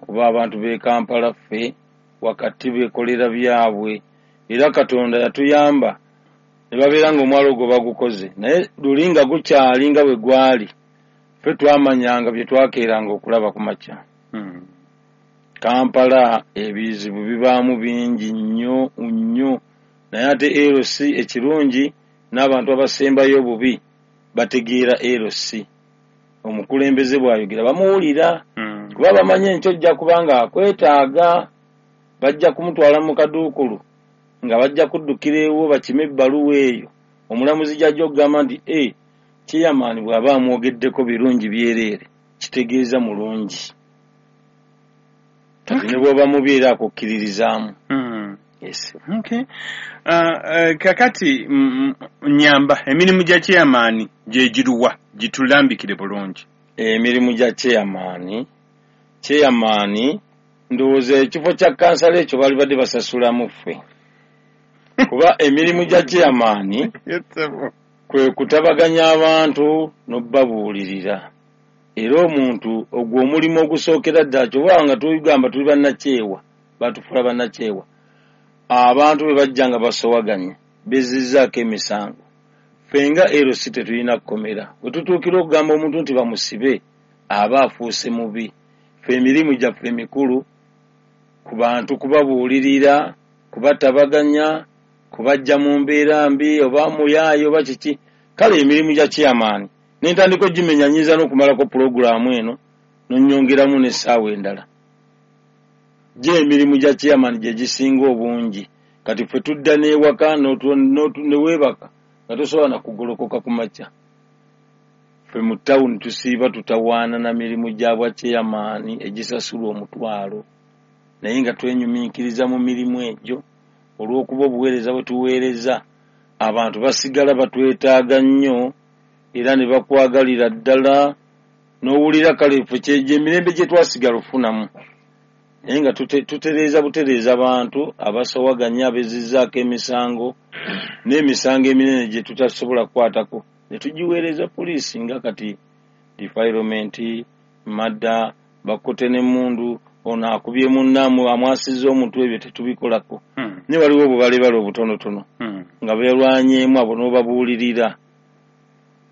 kuba abantu b'e Kampala ffe wakati beekolera byabwe. Era Katonda yatuyamba ne babeera ng'omwalo ogwo bagukoze, naye luli nga gukyali nga bwe gwali, ffe twamanyanga bye twakeeranga okulaba ku makya. Kampala ebizibu bibaamu bingi nnyo nnyo, naye ate L C ekirungi n'abantu abasembayo obubi bategeera L C. Omukulembeze bw'ayogera bamuwulira, kuba bamanyi enkyo ojja kubanga akwetaaga, bajja kumutwala mu kaduukulu nga bajja kuddukira ewo bakime ebbaluwa eyo. Omulamuzi gy'ajja okugamba nti e chairman bw'aba amwogeddeko birungi byereere, kitegeeza mulungi. Kati ne bw'oba mubi era akukkiririzaamu. Okay. Uh, uh, kakati nyamba emirimu gya chairman gye giruwa? Gitulambikire bulungi. Emirimu gya chairman, chairman ndowooza ekifo kya kansala ekyo baali badde basasulamu ffe, kuba emirimu gya chairman kwe kutabaganya abantu n'obbabuulirira. Era omuntu ogwo omulimu ogusookera ddala, kyoba nga tugamba tuli bannakyewa, batufuula bannakyewa, abantu bwe bajja nga basowaganye bezizzaako emisango, ffe nga L C tetulina kkomera. Bwe tutuukira okugamba omuntu nti bamusibe, aba afuuse mubi. Ffe emirimu gyaffe emikulu ku bantu kubabuulirira, kubatabaganya, kubajja mu mbeera mbi oba muyaayo oba kiki. Kale emirimu gya chairman nentandika ogimenya, nyinza n'okumalako pulogulaamu eno nonyongeramu n'essaawa endala. Gye emirimu gya chairman gye gisinga obungi. Kati ffe tudda n'ewaka ne weebaka nga tosobola na kugolokoka ku makya. Ffe mu tawuni tusiiba tutawaana na mirimu gya bwa chairman egisasulwa omutwalo, naye nga twenyumiikiriza mu mirimu egyo olw'okuba obuweereza bwe tuweereza abantu basigala batwetaaga nnyo era ne bakwagalira ddala n'owulira kale ffe kyegyo emirembe gye twasigala ofunamu, naye nga tutereeza butereeza abantu abasowaganya abezizzaako emisango n'emisango eminene gye tutasobola kukwatako ne tugiweereza poliisi nga kati defilement, madda, bakote n'emmundu, ono akubye munnamu amwasizza omutwe, ebyo tetubikolako. Hmm. Ne waliwo obubalebale obutonotono hmm. nga beerwanyeemu abo n'obabuulirira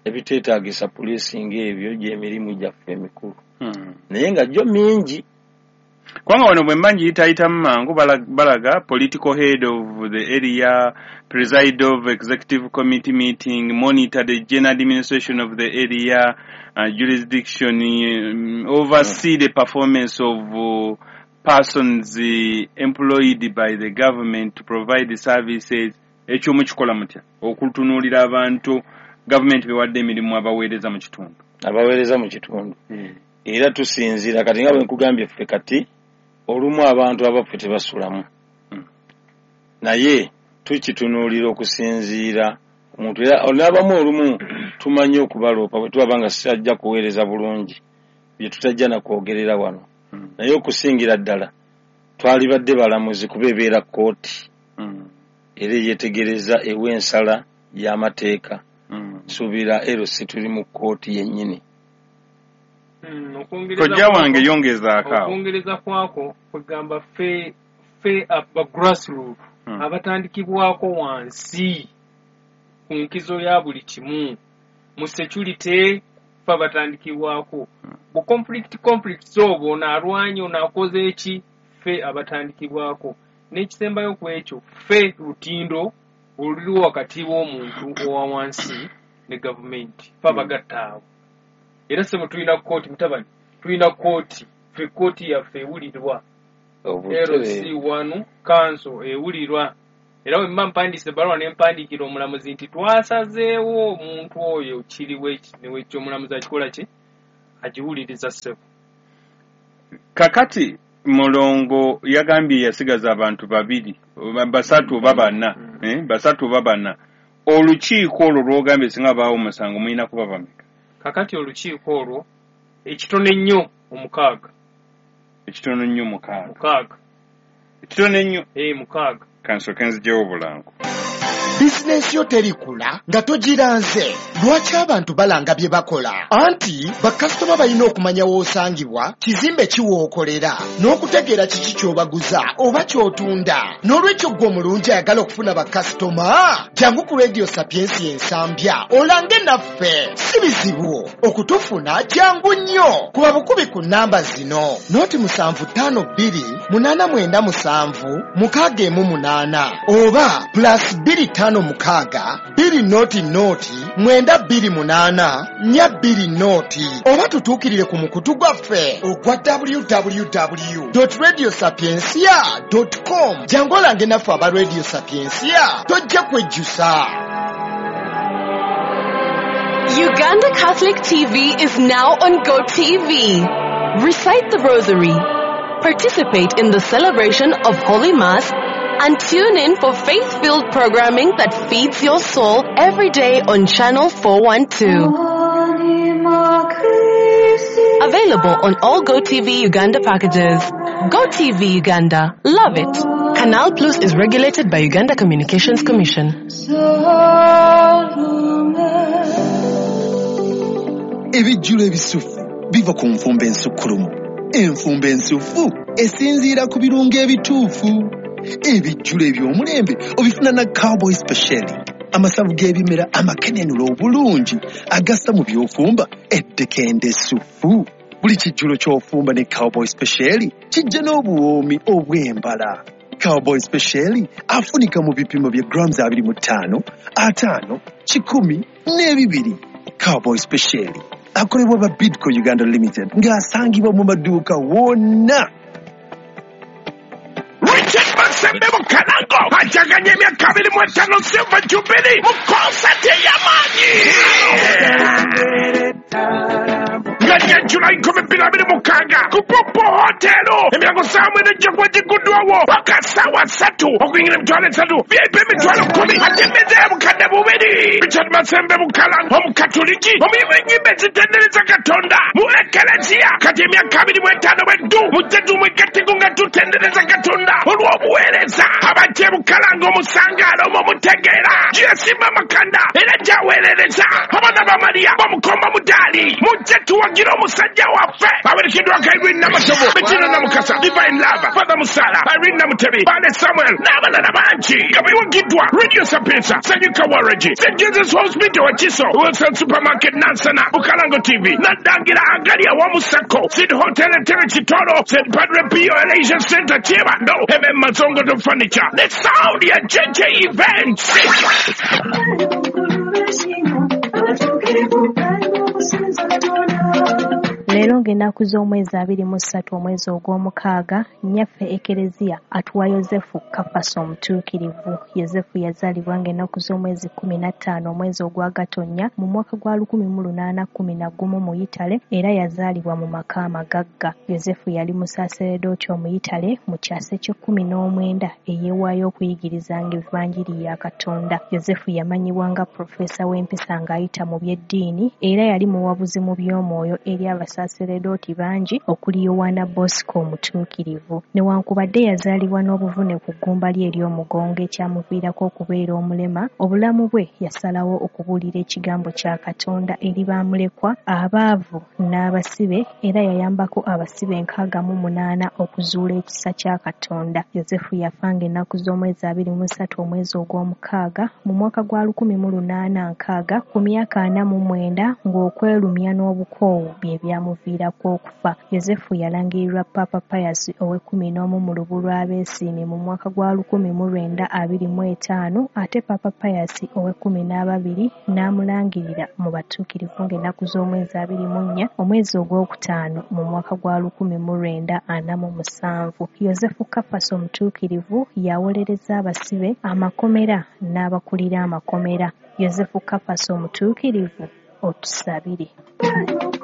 ebiteetaagisa poliisi ng'ebyo gy'emirimu gyaffe emikulu. Hmm. Naye nga gyo mingi. Kubanga wano bwe mba ngiyitaayitamu mangu balaga political head of the area, preside of executive committee meeting, monitor the general administration of the area, uh, jurisdiction, um, oversee the performance of uh, persons uh, employed by the government to provide the services. Ekyo mukikola mutya okutunuulira abantu gavumenti bewadde emirimu abaweereza mu kitundu? Abaweereza mu kitundu hmm. Era tusinziira kati nga bwe nkugambye ffe kati olumu abantu abaffe tebasulamu, hmm. naye tukitunuulira okusinziira omuntu era n'abamu olumu tumanyi okubaloopa bwe tubaba nga sitajja kuweereza bulungi bye tutajja na kwogerera wano, hmm. naye okusingira ddala twalibadde balamuzi kuba ebeera kkooti hmm. era eyeetegereza ewa ensala y'amateeka. Nsuubira L C tuli mu kkooti yennyini. Kojja wange yongezaako awo. Okwongereza kwako kwegamba ffe ffe aba grassroot hmm. abatandikibwako wansi ku nkizo ya buli kimu mu security ffe abatandikibwako bu conflict conflicts obwo ono alwanye ono akoze eki ffe abatandikibwako. N'ekisembayo ku ekyo ffe lutindo oluliwo wakati w'omuntu owa wansi ne gavumenti ffe abagatta awo. Era ssebo tulina kkooti mutabani, tulina kkooti ffe kkooti yaffe ewulirwa L C one kanso ewulirwa. Era bwe mba mpandiise ebbaluwa ne mpandiikira omulamuzi nti twasazeewo omuntu oyo kiriwo eki newekyo omulamuzi akikola ki agiwuliriza ssebo. Kakati Mulongo yagambye yasigaza abantu babiri basatu oba bana, eh, basatu oba bana. Olukiiko olwo lw'ogambye singa baawo omusango mulina kuba bameka? Kakati olukiiko olwo ekitono ennyo omukaaga. Ekitono ennyo mukaaga. Mukaaga. Ekitono ennyo? Eh, mukaaga. Kansooke nziggyewo obulango. Bizinensi yo terikula nga togiranze. Lwaki abantu balanga bye bakola? Anti bakasitoma balina okumanya w'osangibwa, kizimbe ki w'okolera, n'okutegeera kiki ky'obaguza oba ky'otunda. N'olwekyo ggwe omulungi ayagala okufuna bakasitoma, jangu ku Radio Sapiensia Ensambya olange naffe. Si bizibu okutufuna, jangu nnyo. Kuba bukubi ku nnamba zino: noti musanvu ttaano bbiri munaana mwenda musanvu mukaaga emu munaana oba plus bbiri ttaano mukaaga bbiri noti noti mwenda bbiri munaana nnya bbiri noti oba tutuukirire ku mukutu gwaffe ogwa w w w dot radio sapiensia dot com. Jangu olange naffe aba Radio Sapiensia, tojja kwejjusa. Uganda Catholic T V is now on GoTV. Recite the Rosary, participate in the celebration of Holy Mass, and tune in for faith-filled programming that feeds your soul every day on Channel four one two. Available on all GoTV Uganda packages. GoTV Uganda. Love it. Canal Plus is regulated by Uganda Communications Commission. Ebijjulo ebisufu biva ku nfumba ensukkulumu. Enfumba ensufu esinziira ku birungo ebituufu. Ebijjulo eby'omulembe obifuna na Cowboy Special. Amasavu g'ebimera amakenenula obulungi agassa mu by'ofumba eddekende essufu. Buli kijjulo ky'ofumba ne Cowboy Special kijja n'obuwoomi obw'embala. Cowboy Special afunika mu bipimo bya grams abiri mu ttaano, ataano, kikumi n'ebibiri. Cowboy Special akolebwa ba Bidco Uganda Limited ng'asangibwa mu maduuka wonna. Masembe Bukalango ajaganya emyaka abiri mu etaano Silver Jubilee mu konsati ey'amaanyi nga nnya Julayi nkumi bbiri abiri mukaaga ku Popo Hotel. Emyango ssaawa mwenda ejja kuba gigguddwawo paka ssaawa ssatu okuyingira emitwalo esatu V I P emitwalo kkumi ate emmeeza ya bukadde bubiri. Richard Masembe Bukalango omukatuliki omuyimbi w'ennyimba ezitendereza Katonda mu Ekereziya kati emyaka abiri mu etaano bweddu mujje tumwegatteko nga tutendereza Katonda olw'obuweereza. Abajja e Bukalango omusangaalo omwo mutegeera gyeyasimba amakanda era gyaweerereza abaana ba Mariya bamukomba mudaali mujje tuwagire omusajja waffe. Awerekeddwako Irene Namatovu, Bettina Namukasa, Divine Love, Father Musala, Irene Namutebi, Bale Samuel n'abalala bangi nga bewagiddwa Radio Sapienza, Sanyuka Waragi, Saint Jesus Hospital Wakiso, Wilson Supermarket Nansana, Bukalango T V, Nadangira Agali awamu Sacco, Sid Hotel Entebbe Kitoro, Saint Padre Pio Elation Center Kyebando, M M Mazongoto Furniture, The Sound ya J J Events. Leero ng'ennaku z'omwezi abiri mu ssatu omwezi ogw'omukaaga nnyaffe Ekereziya atuwa Yozefu Kafasi omutuukirivu. Yozefu yazaalibwa ng'ennaku z'omwezi kkumi na ttaano omwezi ogwa Gatonnya mu mwaka gwa lukumi mu lunaana kkumi na gumu mu Yitale era yazaalibwa mu maka amagagga. Yozefu yali musaaseredooti Omuyitale mu kyasa eky'ekkumi n'omwenda eyeewaayo okuyigirizanga Evanjiri ya Katonda. Yozefu yamanyibwa nga pulofeesa w'empisa ng'ayita mu by'eddiini era yali muwabuzi mu by'omwoyo eri abasaseredooti bangi okuli Yowaana Bosco omutuukirivu. Newankubadde yazaalibwa n'obuvune ku ggumba lye ery'omugongo ekyamuviirako okubeera omulema, obulamu bwe yasalawo okubuulira ekigambo kya Katonda eri bamulekwa, abaavu n'abasibe era yayambako abasibe enkaaga mu munaana okuzuula ekisa kya Katonda. Yozefu yafa ng'ennaku z'omwezi abiri mu ssatu omwezi ogw'omukaaga mu mwaka gwa lukumi mu lunaana nkaaga ku myaka ana mu mwenda ng'okwerumya n'obukoowu bye byamuviirako okufa. Yozefu yalangirirwa Papa Pius ow'ekkumi n'omu mu lubu lw'abeesiimi mu mwaka gwa lukumi mu lwenda abiri mu etaano ate Papa Pius ow'ekkumi n'ababiri n'amulangirira mu batuukirivu ng'ennaku z'omwezi abiri mu nnya omwezi ogwokutaano mu mwaka gwa lukumi mu lwenda ana mu musanvu. Yozefu Kafasi omutuukirivu yawolereza abasibe amakomera n'abakulira amakomera. Yozefu Kafasi omutuukirivu otusabire.